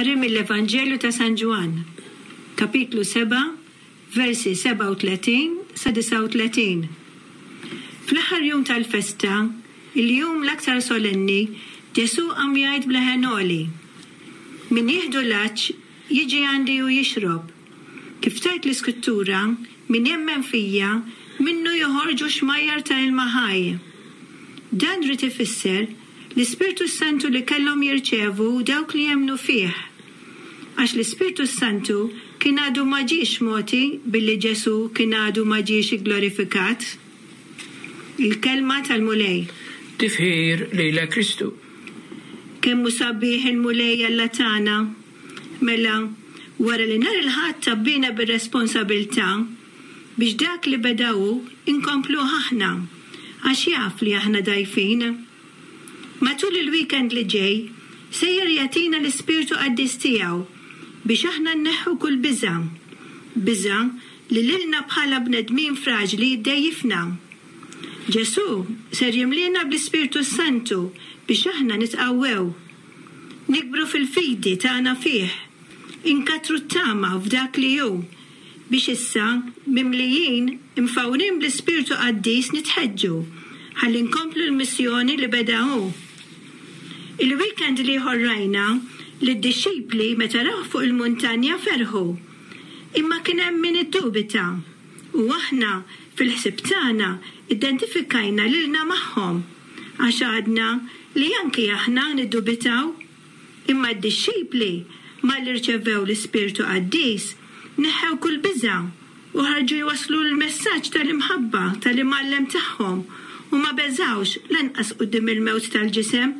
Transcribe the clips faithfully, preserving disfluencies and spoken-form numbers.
Qari mill-Evanġelju ta' San Ġwann, kapitlu sebgħa, versi sebgħa u tletin sa disgħa u tletin. Fl-aħħar jum tal-festa, il-jum l-aktar solenni, Ġesù qam jgħid b'leħen għoli, Min jieħdu l-għatx jiġi għandi u jixrob. Kif tgħid l-Iskrittura, min jemmen fija, minnu joħorġu xmajjar ta' ilma ħaj. Dan ried ifisser l-Ispirtu s-Santu li kellhom jirċevu dawk li jemmnu fih. Għax l-Ispirtu s-Santu kien għadu ma ġiex mogħti billi Ġesù kien għadu ma ġiex igglorifikat. Il-Kelma tal-Mulej. Tifħir lilek Kristu. Kemm hu sabiħ il-Mulej Alla tagħna! Mela, wara li nhar il-Ħadd tgħabbina bir-responsabilità biex dak li beda hu inkompluh aħna, għax jaf li aħna dgħajfin. Matul il-weekend li ġej, sejjer jagħtina l-Ispirtu Qaddis tiegħu biex aħna nneħħu kull biża', biża' li lilna bħala bnedmin fraġli ddejjifna. Ġesù ser jimliena bl-Ispirtu s-Santu biex aħna nitqawwew, nikbru fil-fidi tagħna fih, inkattru t-tama f'dak li hu, biex issa, mimlijin, imfawrin bl-Ispirtu Qaddis nitħeġġu ħalli nkomplu l-missjoni li beda hu. Il-weekend l-ieħor rajna li d-dixxipli meta rawh fuq il-muntanja ferħu. Imma kien hemm min iddubita. U aħna, fil-ħsieb tagħna, identifikajna lilna magħhom, għax għadna li anki aħna niddubitaw. Imma d-dixxipli, malli rċevew l-Ispirtu Qaddis, neħħew kull biża' u ħarġu jwasslu l-messaġġ tal-imħabba tal-Imgħallem tagħhom u ma beżgħux lanqas quddiem il-mewt tal-ġisem.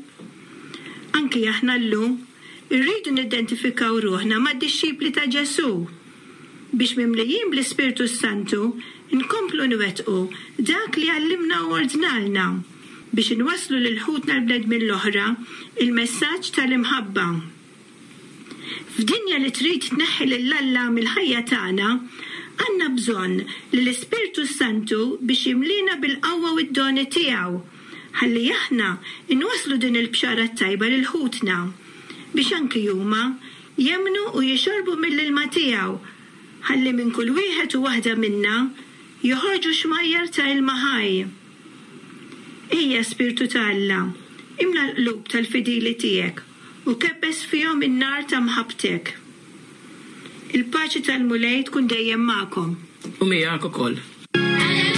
Anki aħna llum irridu nidentifikaw ruħna mad-dixxipli ta' Ġesù biex mimlijin bl-Ispirtu s-Santu nkomplu nwettqu dak li għallimna u ordnalna biex inwasslu lil ħutna l-bnedmin l-oħra il-messaġġ tal-imħabba. F'dinja li trid tneħħi lil Alla mill-ħajja tagħna, għandna bżonn li l-Ispirtu s-Santu biex jimlina bil-qawwa u d-doni tiegħu, ħalli aħna nwasslu din il-bxara t-tajba lil ħutna, biex anki huma jemmnu u jixorbu mill-ilma tiegħu, ħalli minn kull wieħed u waħda minna joħorġu xmajjar ta' ilma ħaj. Ejja Spirtu ta' Alla, imla l-qlub tal-fidili tiegħek u kebbes fihom in-nar ta' mħabbtek. Il-paċi tal-Mulej tkun dejjem magħkom. U miegħek ukoll.